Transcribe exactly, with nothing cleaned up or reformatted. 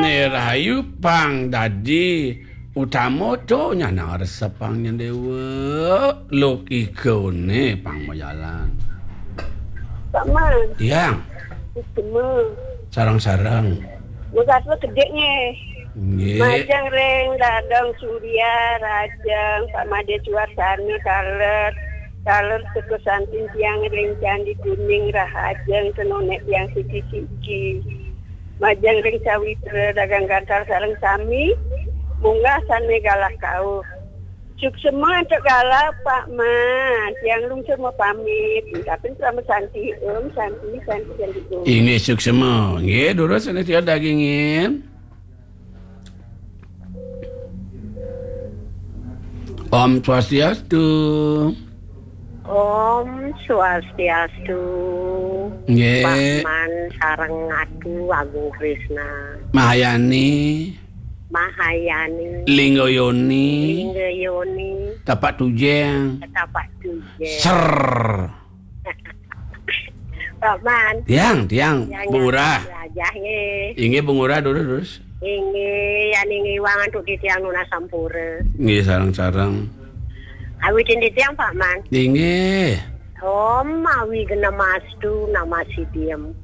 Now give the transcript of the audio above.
Né rahayu pang dadi utama to nyanang resepang nyang déwa. Logikané pang majalan. Pak Man. Tiang. Utama. Sareng-sareng. Mugat kedék nggih. Nggih. Majeng ring Dadong Surya, Rajeng, Pak Madé Suarsana, taler, taler teka santin tiang ring Candi Kuning, Rahajeng, kenonek tiang siki-siki. Majeng ring sawitra dagang gantar sareng sami, munggah sané galah kauh. Suksma antuk galah, Pak Man. Tiang lungsur mapamit. Tapi Parama Santi, Om Santi, Santi, Santi, Om. Inggih suksma. Nggih, durus sané tiang dagingin. Om Swastiastu. Om Swastiastu. Nggih. Pak Man sareng Atu Agung Krisna. Mahayani. Mahayani. Lingga Yoni. Lingga Yoni. Tapak Tujeng. Tapak Tujeng. Ser. Pak Man. Tiang, tiang, Tiang Bungurah. Rajah nggih. Inggih Bungurah durus, durus. Inggih, yan inggih wang antuk titiang nunas sampura. Nggih, sareng-sareng. Awitin titiang, Pak Man. Inggih. Om Awi Genamastu Nama Sidiem.